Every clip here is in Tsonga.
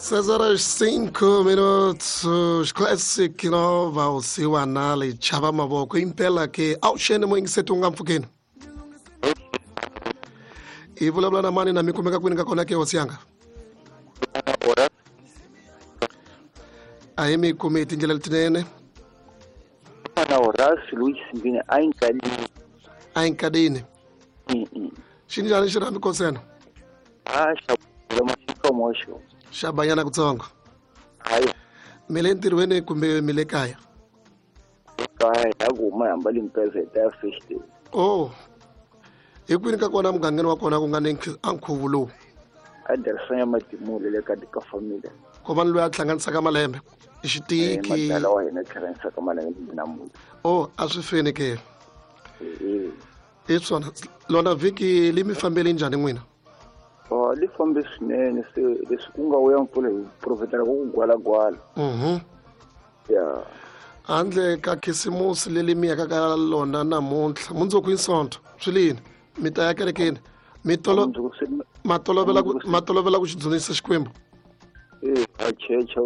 6 horas 5 minutos. Classic Nova, Vusiwana Lichava Mavoko. Impela ke awuxeni muyingiseti u nga mpfukeni. Hi vulavula na mani na mi kumeka kwini ka kona ke hosi yanga? A hi mi kumi hi tindlela letinene. Na Horace Luis Mbini a yi nkadini. A yi nkadini. Xi njhani xirhambi kosena? A xa xo. Xa banyana kutsongo. Hayi. Mi le ntirhweni kumbe mi le kaya? Kaya ya ku huma hamba limpeza hi ta ya festival. Oh. Hi kwini ka kona mugangeni wa kona ku nga ni a nkhuvo lowu? A Darsan ya Matimule le ka ka family. Ko va ni loyi a hlanganisaka malembe. I xitiki. Madala wa hina hlanganisaka malembe namuntlha. Oh, a swi feni ke. Hi swona lona vhiki li mi fambele njhani n'wina? Oh, li fambe swinene se leswi ku nga vuya mpfula hi profetela ku ku gwalagwala. Ya. Handle ka khisimusi leli mi yaka ka lona namuntlha mundzuku i Sonto swi lini mi ta ya kerekeni mi tolo ma tolovela ku ma tolovela ku xi dzunisa Xikwembu? Eh, a checha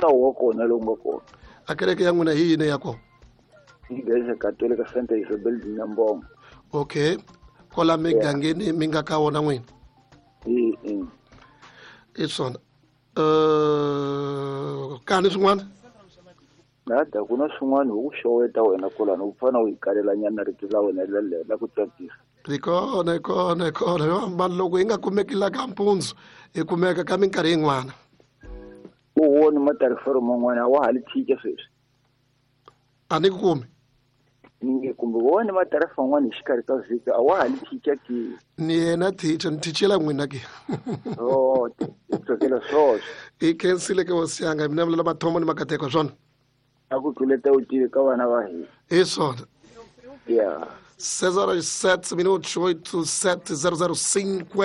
nawu wa kona lowu nga kona. A kereke ya n'wina hi yini ya kona? Iglesia Católica Santa Isabel de Nyambongo. Okay. Kola migangeni mi nga ka wona n'wina? I swona. Kani swin'wana? Nada ku na swin'wana hi ku xoweta wena kolani u fana u yi kalelanyana rito la wena la ku tsakisa. Hi kona, hi kona, hi kona. Mani loko hi nga kumeki la ka mpundzu hi kumeka ka minkarhi yin'wana. U voni matarifero man'wana a wa ha li tshika sweswi. A ni ku kumi. Ni kumbe vona matarifa man'wana hi xikarhi ka vhiki a wa ha li tshika ke. Ni yena teacher ni thichela n'wina ke. Oh, tsakela swoswo. I khensile ke hosi yanga mina vulela mathomo ni makateko swona. A ku tluleta u tive ka vana va hina. Hi swona. Yeah. 6 horas 7 minutos 8 7 0 0 5.